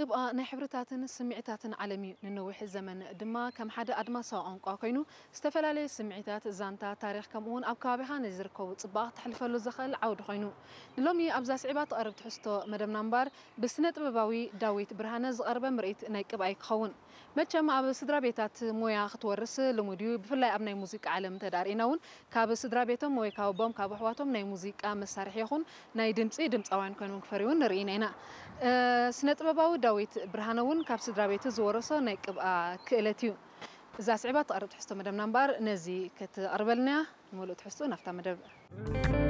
ቅብኣ ናይ ሕብርታትን ስምዒታትን ዓለም እዩ። ንነዊሕ ዘመን ድማ ከም ሓደ ኣድማሳዊ ቋንቋ ኮይኑ፣ ዝተፈላለዩ ስምዒታት፣ ዛንታ፣ ታሪኽ፣ ከምኡውን ኣብ ከባቢኻ ንዝርከቡ ጽባቕ ተሕልፈሉ ዝኽእል ዓውዲ ኮይኑ። ንሎሚ ኣብዛ ስዒባ ትቐርብ ትሕዝቶ መደብና እምበር፣ ብስነ ጥበባዊ ዳዊት ብርሃነ ዝቐርበ ምርኢት ናይ ቅብኣ እዩ ክኸውን። መቸም ኣብ ስድራ ቤታት ሞያ ክትወርስ ልሙድ እዩ። ብፍላይ ኣብ ናይ ሙዚቃ ዓለም እንተዳርኢና እውን ካብ ስድራ ቤቶም ወይ ካብ ኣቦም ካብ ኣሕዋቶም ናይ ሙዚቃ መሳርሒ ይኹን ናይ ድምፂ ድምፃውያን ኮይኖም ክፈርዩን ንርኢና ኢና። ስነ ጥበባዊ ዳዊት ብርሃነ እውን ካብ ስድራ ቤቱ ዝወረሶ ናይ ቅብኣ ክእለት እዩ። እዛ ስዕባ ትቐርብ ትሕዝቶ መደብና እምበኣር ነዚ ክትቐርበልና እያ። ንመሉእ ትሕዝቶ ናብታ መደብ።